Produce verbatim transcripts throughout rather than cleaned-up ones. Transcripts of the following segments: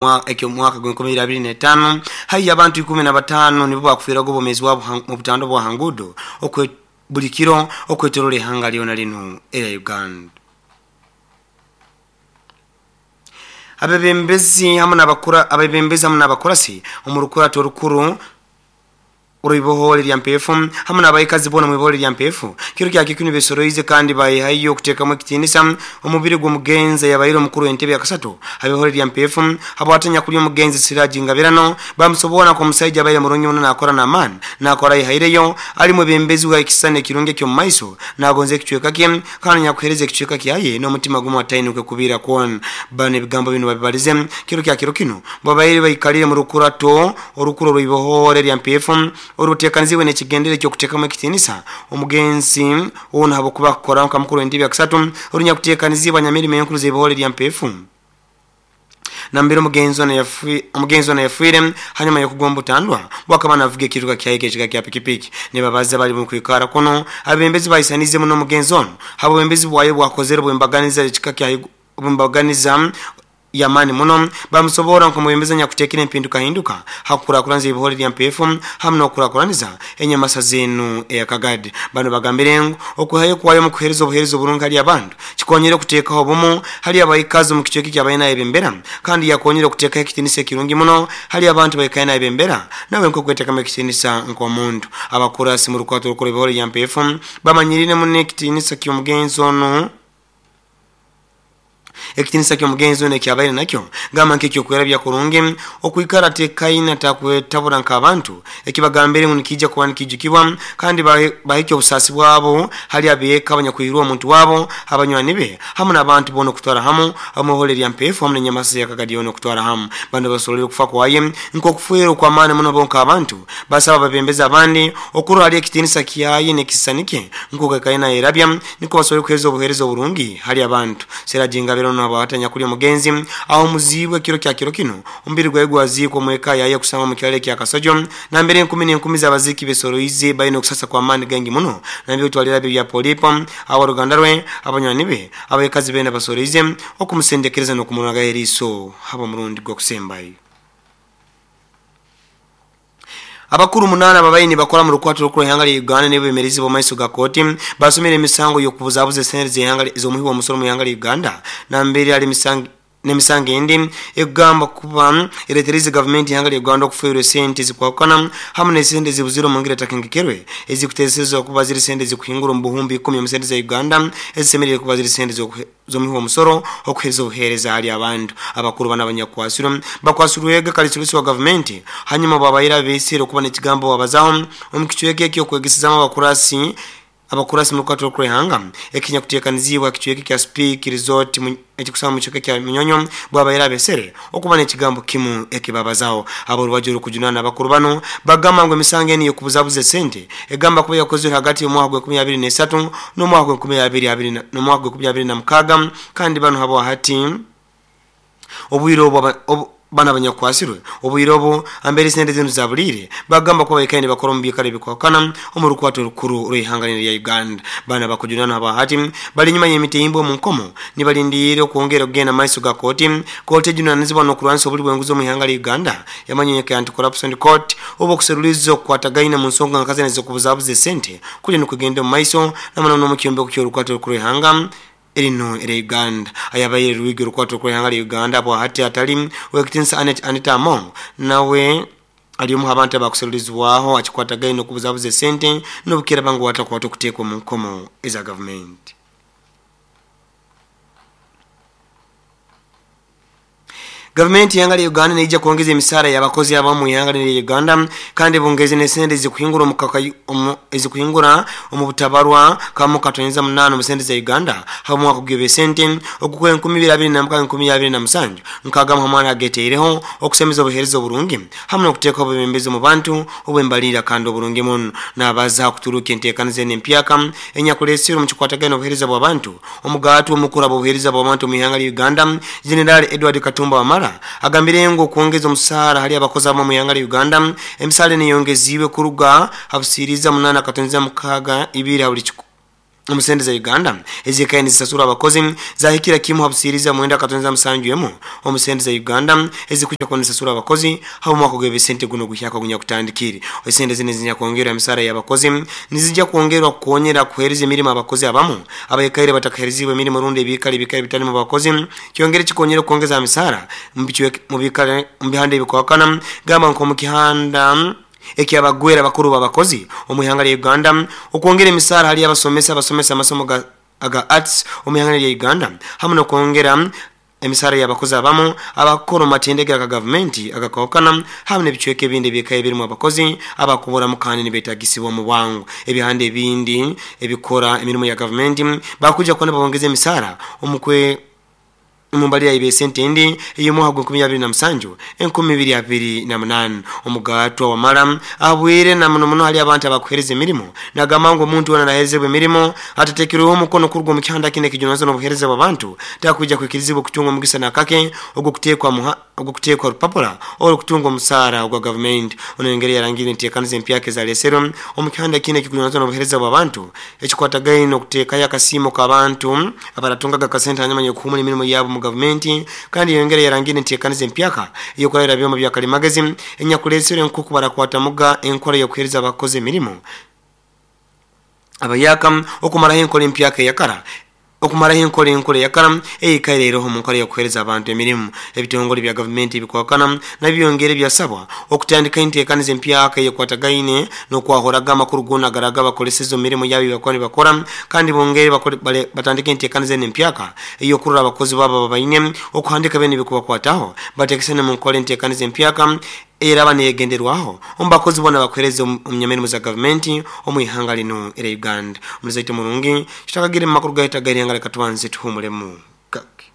Ekyo mwaka gwe abiri n'etaano haihi abantu ikumi na bataano nibo bakufiiraga obwomeezi bwabo mu butando bwa hangudo okwe buli kiro okwetorola ihanga lyona lino erya Uganda. Abebembezi hamwe n'abakura abebembezi hamwe n'abakurasi omu rukurato rukuru uruibohole lya mpefu hamwe n'abaikazi bona mu ibohole lya mpefu kiro kya kikuni besoroize kandi bayihayo okuteekamu ekitinisa omubiri gw'omugenzi yabaire omukuru w'entebe ya kasatu abibohole lya mpefu habwatanya kuli omugenzi Siraji Ngabirano bamusobora ko omusaija abaire murungi muno nakora n'amaani nakora yihaireyo ali mwebembezi wa ekisana ekirungi eky'omu maiso nagonza ekicweka kye kandi nyakuhereza ekicweka kyaye n'omutima gumu atainuke kubiira kwona. Bano ebigambo bino babibalize kiro kya kiro kino babaire baikalire mu rukurato orukuru rw'ibohole lya mpefu oruteekaniziibwe n'ekigendere ky'okuteekamu ekitinisa omugenzi ono habwokuba akukora nka mukuru w'entebe ya kasatu orunyakuteekanizibwa nyamirimo enkuru z'ebohole lya mpefu nambere omugenzi ono yafi omugenzi ono yafiire hanyuma y'okugwa butandwa bwakaba navuga ekiruka kyaye ekika kya pikipiki. Nibabaza bali mu kwikara kuno abembezi bayisanize muno omugenzi ono habwembezi bwayo bwakozere bwembaganiza ekika kya bwembaganiza yamani muno bamusobora nkomwembeza nyakutekera empinduka hinduka hakukurakuranza ebihore lya mpefu hamwe n'okukurakuraniza enyamasa zenu eyakagadi. Bano bagambire ngu okuhayo kwayo mu kuhereza obuhereza oburungi hali abantu kikonyere okuteekaho obumu hali abaikazi mu kicweka ekyabaine ebembera kandi yakonyere okuteekaho ekitinisa ekirungi muno hali abantu baikaine ebembera nawe nk'okweteekamu ekitinisa nk'omuntu. Abakurasi mu rukwato rukuru ebihore lya mpefu bamanyirire muno ekitinisa ky'omugenzi ono ekitinisa ky'omugenzi ono ekyabaire nakyo gamba nk'ekyokwera kurungi okwikara tekaina takwetabura nk'abantu ekibagambire ngu nikijja kuba nikijukibwa kandi bahikya obusaasi bwabo hali abeeka abanyakwirwa omuntu wabo abanywani be hamwe n'abantu boona okutwara hamu amuhole lya mpefu hamwe n'enyamasa yakagadi yoona okutwara hamu. Bano basolere okufa kwaye nk'okufuera okw'amaani muno bo nk'abantu basaba ababembezi abandi okurora hali ekitinisa kyaye n'ekisisani kye nk'oku erabya niko basobole kuheereza obuheereza oburungi hali abantu. Siraji Ngabirano abatanya kuli omugenzi aho muzibwe kiro kya kiro kino omubiri gwaye gwaziikwa omweka yaye kusanga mu kyalo kya Kasojo nambere enkumi n'enkumi z'abaziki besoroize balina okusasa kwa maani gangi muno nambere otwalira bya polipo abaruganda rwe abanywani be abaikazi bena basoroize okumusendekereza n'okumunaga eriiso haba omurundi gw'okusembayo. Abakuru munana babaini bakora mu rukwato rukuru ihanga lya Uganda n'ebemerezi bo maiso ga koti basomera emisango y'okubuzabuza esente z'ihanga z'omuhi w'omusolo mu ihanga lya Uganda nambere ali misango n'emisango endi egamba kuba eretereze gavumenti ihanga lya Uganda okufuirwa esente zikwakana hamwe n'esente zibuzire omu ngeri etakengekerwe ezikuteeserezwa kuba ziri sente zikuhingura omu buhumbi ikumi omu sente za Uganda ezisemerire kuba ziri sente z'omuhi w'omusolo okuhereza obuheereza hali abantu. Abakuru bana abanyakwasirwe bakwasirwega kalisulisi wa gavumenti hanyuma babaire beesire okuba n'ekigambo babazaho omu kicweka eky'okwegesezamu abakurasi abakurasi mu rukwato rw'ihanga ekinyakuteekanizibwa kicweka kya Speak Resort ekikusanga mu kicweka kya Munyonyo bwabaire abesere okuba n'ekigambo kimu ekibabazaho. Aborubaju rukujunana abakuru bano bagamba ngu emisango eni y'okubuzabuza esente egamba kuba yakozirwe hagati y'omwaka gwa enkumi abiri n'esatu n'omwaka gwa enkumi abiri abiri n'omwaka gwa enkumi abiri na mukaaga kandi bano habo hati obwire obwo bana abanyakwasirwe obwire obu ambere sente zinu zabulire bagamba kuba baikaine bakora omu byikaro ebikwakana omu rukwato rukuru rw'ihanga lya Uganda. Bana bakujunana abahati bali nyuma y'emitimbo omu nkomo nibalindiire okwongera okugenda maiso ga kooti. Kooti ejunanizibwa n'okurwanisa obuli bw'enguzi omu ihanga lya Uganda yamanyike Anti-Corruption Court oba okuseruliza okukwatagaine mu nsonga nkazene z'okubuzabuza esente kuli nikugenda omu maiso namuno n'omu kyombeko ky'orukwato rukuru rw'ihanga erino era Uganda. Ayabaire rwigi rukwato rw'ihanga lya Uganda abo hati atali wekitinisa Anet Anita Among nawe ali omu abantu abakuserulizibwaho akikwatagaine okubuzabuza esente n'obukira bangu watakwata okuteekwa mu nkomo eza gavumenti. Gavumenti y'ihanga lya Uganda neija kwongeza emisaara y'abakozi abamu mu ihanga lya Uganda kandi bongeze n'esente ezikuhingura omu ezikuhingura omu butabarwa kamu katoneza munana mu sente za Uganda hamwe mwaka gw'ebesente ogukwe enkumi ibiri abiri na mukaaga enkumi abiri na musanju nkaaga hamwe ageteireho okusemeza obuheereza oburungi hamwe n'okuteeka obubembezi mu bantu obwembalira kandi oburungi muno n'abaza kuturuka enteekaniza n'empyaka enyakulesire omu kikwatagana obuheereza bw'abantu. Omugaati omukuru ab'obuheereza bw'abantu mu ihanga lya Uganda General Edward Katumba Wamala agambire ngu okwongeza omusaara hali abakozi abamu mu ihanga lya Uganda emisaara neyongeziibwe kuruga habusiriza munana katoneza mukaaga ibiri ha buli omusente za Uganda ezikaye nizisasura abakozi zahikira kimu habusiriza mwenda katonza musanju emu omusente za Uganda ezikuja kunisasura abakozi habo mwaka gw'ebisente guno guhyaka gunya kutandikiri esente zine zinya kuongera misara y'abakozi nizijja kuongerwa kuonyera kuhereza emirimo abakozi abamu abayekaire batakahereziwe emirimo rundi ebikali bikali bitali mu bakozi kyongere kikonyera kuongeza misara mu bikale mu bihande ebikwakana gamba nko mu kihanda ekyabagwera bakuru babakozi omuhanga lya Uganda okwongera emisara hali abasomesa abasomesa amasomo aga arts omuhanga lya Uganda hamwe n'okwongera emisara y'abakozi abamu abakora mu matendekero aga gavumenti agakawukana hamwe n'ebicweka ebindi ebikaye ebirimu abakozi abakubura mu kandi nibetagisibwa mu bwangu ebihande ebindi ebikora emirimu ya gavumenti bakuja kubona babongeza emisara omukwe Mumbali ya ibesente ndi iyo gwe nkumi abiri na musanju enkumi bibiri abiri na munani omugatwa wa maram abwire na muno muno hali abantu abakuhereza emirimo nagamba ngo omuntu wona naherezebwa emirimo atatekereho omukono kurwa mu kihanda kine kijunazo n'obuhereza bw'abantu takuja kwikirizibwa kutunga omugisa nakake ogwo kutekwa muha ogwo kutekwa rupapura oro kutunga omusara ogwa government ono engeri yarangire ntekanize empyake za lesero omu kihanda kine kijunazo n'obuhereza bw'abantu ekikwatagaine n'okuteekayo akasiimo k'abantu abaratungaga kasente hanyuma y'okuhumura emirimo yabo mu gavumenti kandi yongera yarangire ntekanize empyaka iyo kurayira byoma bya kalimagezi enyakulesere nkuku barakwata muga enkora yo kuhereza abakozi emirimo abayaka okumaraho enkora empyaka yakara okumaraho enkora enkora yakara eyikaireho mu nkora yo kuhereza abantu emirimu ebitongole bya gavumenti bikwakana nabyongere byasabwa okutandika entekanize empyaka ekwatagaine n'okwahoraga amakuru gona garaga bakolesezo emirimu yabo bakora bakora kandi bongere batandika entekanize n'empyaka eyo kurura abakozi babo babaine okuhandika bene bikubakwataho batekesene mu nkora entekanize empyaka era banegenderwaho ombakozi bona bakwereze omunyamirimu za gavumenti omuihanga lino era Uganda omuzaite murungi kitakagire mu makuru gahita gahanga reka tubanze tuhumulemu kake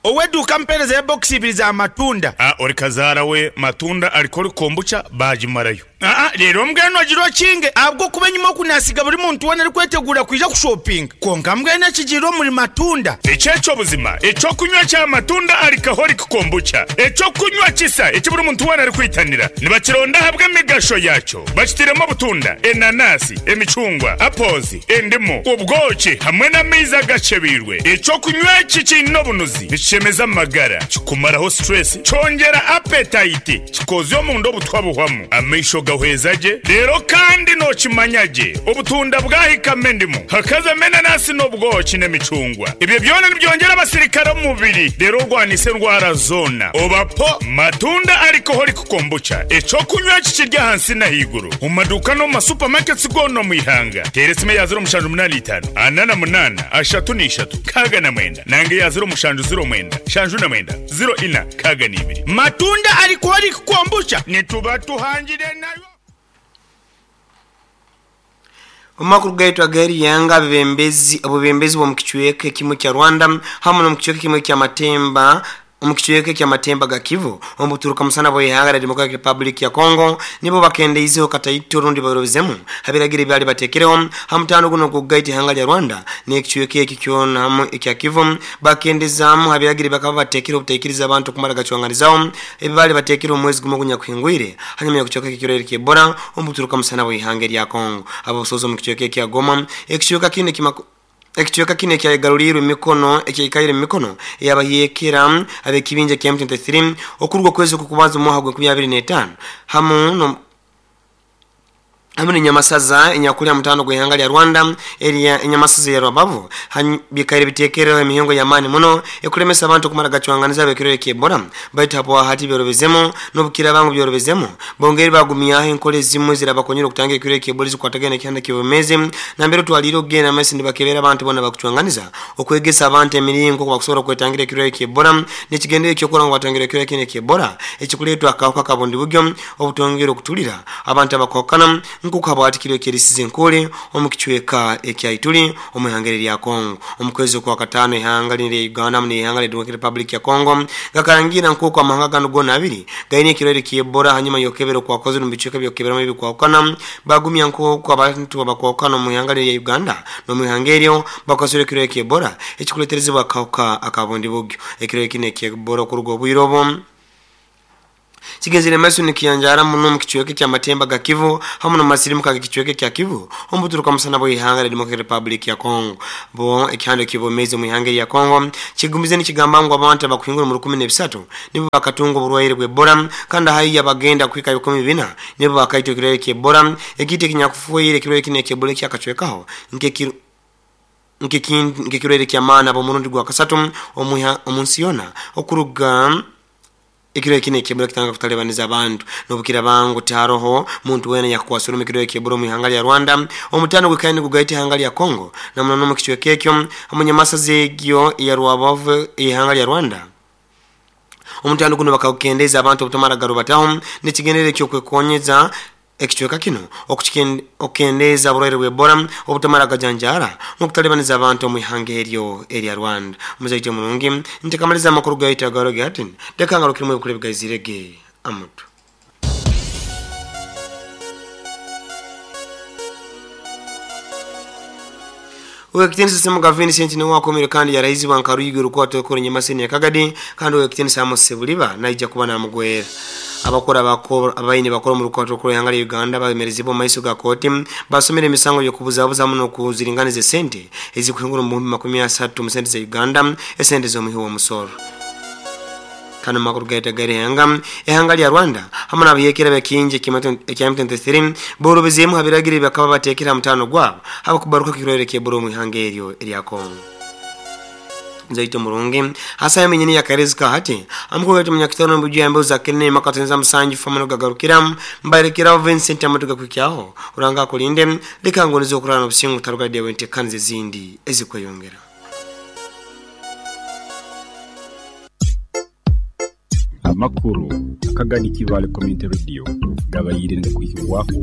Oweduka mpereza ya box ibiri za matunda. Ah, ori kazara we matunda alikori kombucha bajimarayo. Ah ah, rero mbweno jiro kinge abwo kubenyuma kunasiga buri muntu wona ari kwetegura kwija ku shopping. Konka mbwene kijiro muri matunda. Echecho buzima, echo kunywa cha matunda alcoholic kombucha. Echo kunywa kisa, echi buri muntu wona ari kwitanira. Nibakironda habwe migasho yacho. Bakitiremo butunda, enanasi, emicungwa, apples, endimu, ubwoki hamwe n'amaizi gacebirwe. Echo kunywa kikino bunuzi. Chemeza magara kikumaraho stress chongera appetite kikozyo mundo butwabuhwamu amaisho gahwezaje rero kandi no kimanyaje obutunda bwahika mendimu hakaza menanasi n'obwoki n'emicungwa ibyo byona nibyongera abasirikare mu mubiri rero rwanise ndwara zona obapo matunda alcoholic kombucha eco kunywa kikirya hansi na higuru mu maduka no mu supermarkets gono mu ihanga teresime ya zero mushanju munani itanu anana munana ashatu n'ishatu kaga na mwenda nange ya zero mushanju zero mwenda shanju na mwenda zero ina kaga n'ibiri matunda alcoholic kombucha nituba tuhangire nayo. Omakuru gaitu agari yanga bebembezi obubembezi bwo mukichweke kimwe kya Rwanda hamwe no mukichweke kimwe kya Matemba omukichweke kya Matemba ga Kivu omuturuka musana boye hanga la Democratic Republic ya Congo nibo bakende izo kataito rundi barobezemu habiragire byali batekereho hamutano guno kugaiti hanga lya Rwanda ne kichweke ekikyona hamwe ekya Kivu bakendezamu habiragire bakaba batekere obutekiriza abantu kumara gacwanganizaho ebibali batekere omwezi gumo gunya kuhingwire hanyuma ya kuchoka ekirere kyebora omuturuka musana boye hanga lya Congo abo sozo mukichweke kya Goma ekichweka kine kimako ekichweka kine kya garulirwe mikono ekikaire mikono yabahiyekera abekibinje kya M twenty-three okurwa kwezi kukubanza mu hagwe makumi abiri na tano hamu no hamwe nyamasaza inyakulya mutano gwehanga lya Rwanda area enyamasaza ya Rwabavu bikaire bitekereho emihongo ya mani muno ekulemesa abantu kumara gacwanganiza bekirere kyebora baitu hapo hati byorobezemo nobukira bangu byorobezemo bongeri bagumya enkole zimwe zirabakonyera okutanga ekirere kyebora zikwatagana kyanda kibomeze nambere twaliro gena masi ndibakebera abantu bona bakucwanganiza okwegesa abantu emiringo kwakusobola kwetangira ekirere kyebora nekigendere kyokora ngo batangira ekirere kine kyebora ekikuletwa akawuka kabundi bugyo obutongera okutulira abantu abakokana nkuko abatikirwe kerisize nkole omukichweka ekyaituli omuhangere lya Kongo omukwezi kwa katano ihanga lya Uganda mu ihanga lya Democratic Republic ya Kongo gakarangira nkuko amahanga gano gona abiri gaine kirere kyebora hanyuma yokebero kwa kozi mu bichweka byokebera mu bikwakana bagumya nkuko abantu abakwakana mu ihanga lya Uganda no mu ihanga bakasure kirere kyebora ekikuleterezebwa akawuka akabundi bugyo ekirere kine kyebora kurugo bwirobo Kigenzere maso nikiyanjara muno mu kichweke kya Matemba ga Kivu hamu na masirimu ka kichweke kya Kivu ombuturuka musana bo ihanga la Democratic Republic ya Congo bo ekihando kibomeze mu ihanga ya Congo kigumize nikigamba ngo abantu abakuhingura mu rukumi n'ebisatu nibo bakatunga oburwaire bwe Ebola kandi hayi abagenda kwika bikumi bina nibo bakaitwa kirere kye Ebola ekite kinyakufuire kirere kine kye Ebola kyakachwekaho nke nke kirere kya maana bo murundi gwa kasatu omuha omunsiona okuruga ekiro kine kebula kitanga kutalebaniza abantu nobukira bangu taroho muntu wena yakwasura mikiro kebula mu ihanga lya Rwanda omutano gwekaini gugaita ihanga lya Congo na munono mu kichweke ekyo amunyamasa zegyo ya Rwabavu ihanga lya Rwanda omutano guno bakakendeza abantu obutamara garubataho nekigendere kyo kwekonyeza ekichweka kino okukendeza burwaire bwe Ebola obutamara gajanjara n'okutalebaniza abantu mu ihanga eryo erya Rwanda muzaite mulungi ntekamaliza amakuru gaita garo gatin dekanga rukirimo ebikule bigazirege amutu Uwekitenisa semu Vincent ni wako kandi ya raizi wa Nkaruyigo rukwato kuri nyamaseni ya Kagadi kandi uwekitenisa Amos Buliba naija kuba na mugwera abakora abakora abayini bakora mu rukwato kuri hanga Uganda babemerezi bo maiso ga koti basomera emisango yo kubuzabuza muno kuziringanize sente ezikuhingura mu makumi asatu mu sente za Uganda esente zo muhiwo musoro kano makuru gaita gari hanga ehanga lya Rwanda hamwe nabiyekera bekinje kya M twenty-three borobezemu habiragire bakaba batekera mutano gwabo abakubaruka kirore keboro mu ihanga eryo erya Kongo nzaito murungi hasa yamenyeni ya karezika hati amukugati munyakitano mbuju yambe uzakene makatenza musanju famano gagarukira mbarekera Vincent amatuga kwikyaho uranga kulinde likangonizo okurana obusingu tarugadde wente kanze zindi ezikweyongera. Amakuru akagani Kibale Community Radio gabayirinde kwikirwako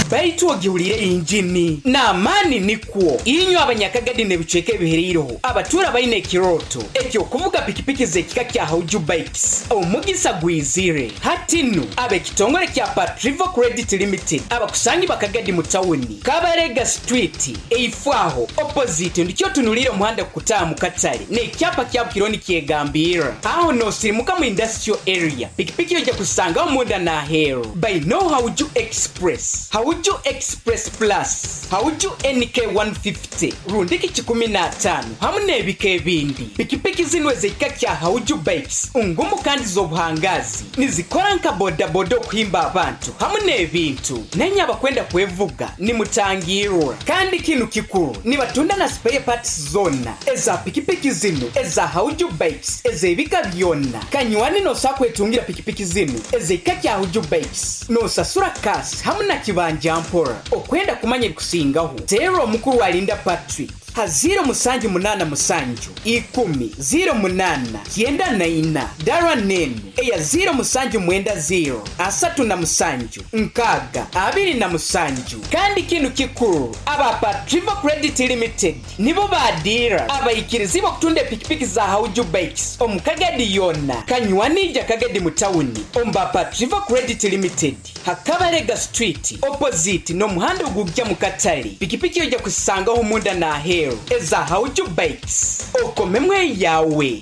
baitu ogihulire injini n'amaani nikwo inyo abanyakagadi n'ebicweka ebihereireho abatura baine ekiroto ekyokuvuga pikipiki z'ekika kya Hauju Bikes omugisa gwizire hati nnu ab'ekitongole kya Patrivo Credit Limited abakusangi bakagadi mu tawuni Kabarega Street eifwaho opposite ndikyo tunulire omuhanda kukutaaha mu katale n'ekyapa kya Bukironi kyegambira aho nosirimuka mu industrial area pikipiki ojja kusangaho munda n'aheeru by no Hauju Express Hauju Express Plus, Hauju N K one fifty, rundiki kikumi na tano, hamu n'ebika ebindi. Pikipiki zino ez'ekika kya Hauju Bikes, ngumu kandi z'obuhangazi, nizikora nka bodaboda okuhimba abantu, hamu n'ebintu. Nenye abakwenda kwevuga, nimutangirwa. Kandi kinu kikuru, nibatunda na spare parts zona, eza pikipiki zino, eza Hauju Bikes, ez'ebika byonna. Kanywani nosakwetungira pikipiki zino, ez'ekika kya Hauju Bikes, nosasura kasi, hamu na kibanja mpora okwenda kumanya ebikusingaho tero omukuru wa Linda Patrick ha zero musanju munana musanju ikumi zero munana kyenda na ina dara nene eya zero musanju mwenda zero asatu na musanju nkaga abiri na musanju. Kandi kinu kikuru aba Patrivo Credit Limited nibo badira abayikirizi bakutunda pikipiki za Hauju Bikes omukagadi yona kanywanija kagadi mutawuni omba Patrivo Credit Limited Hakabarega Street opposite no muhanda ogujja mu katale pikipiki ojja kusangaho munda na aheeru eza Hauju Bikes okomemwe yawe.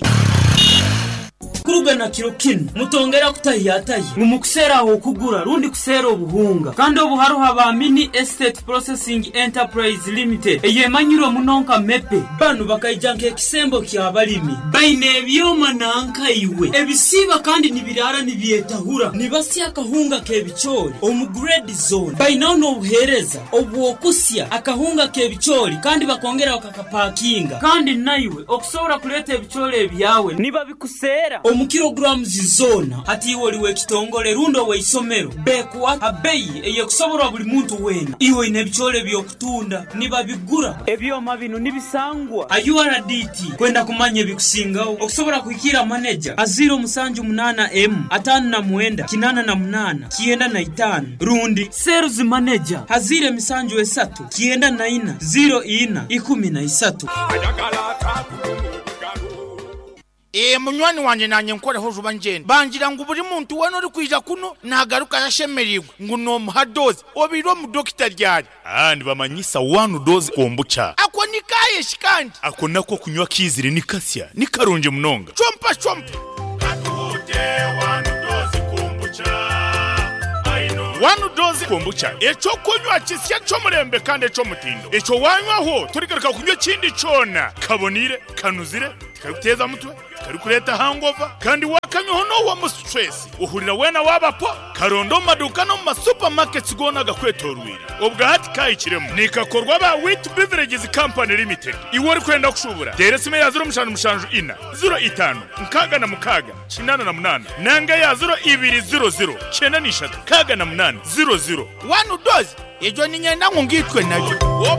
Kurugana kiro kino mutongera kutahiyataye mumukusera aho kugura rundi kusera obuhunga kandi obuharuha ba Mini Estate Processing Enterprise Limited eyemanyiro munonka mepe banu bakaijanka ekisembo kya balimi baine ebyoma nanka iwe ebisiba kandi nibirara nibyetahura nibasya akahunga kebichori omu grade zone baina n'obuhereza obwokusya akahunga kebichori kandi bakongera bakakapakinga kandi naiwe okusobora kuleta ebichori ebyawe niba bikusera omu kilograms zona hati iwe oliwe ekitongole rundo weisomero bekuwa abeyi eyekusoborwa buli muntu wena iwe ine ebichole byokutunda nibabigura ebyoma bino nibisangwa U R D T kwenda kumanya ebikusingaho okusobora kuhikira manager aziro musanju munana M atano na mwenda kinana na munana kienda na itano rundi sales manager hazire misanju esatu kienda na ina zero ina ikumi na isatu. E munywani wanje nanye nkoreho juba njenda bangira ngo buri muntu wano uri kwija kuno nagaruka yashemerirwe ngo no muhadoze obiro mu doctor ryari ah ndibamanyisa one dose kombucha ako nikaye shikandi ako nako kunywa kizire nikasya nikarunje munonga chompa chompa katute one One Dose Kombucha, ekyokunywa kisya ky'omulembe kandi eky'omutindo. Ekyo wanywaho torigaruka kunywa ekindi kyona. Kabonire, kanuzire, tikarikuteeza mutwe, tikarikureeta hangover, kandi wakanywaho n'owa mu stress. Uhurira wena wabapo, karondo mu maduka no mu masupermarkets gona gakwetorwire. Obwa hati kahikiremu. Nikakorwa ba Wheat Beverages Company Limited. Iwe ori kwenda kushubura. Tera esimu ya zero mushanju mushanju ina, zero itano, nkaga na mukaga, kinana na munana. Nanga ya zero ibiri zero zero, kyenda n'ishatu, kaga na munana, zero zero. One Dose, ejo ninyenda ngu ngitwe nayo.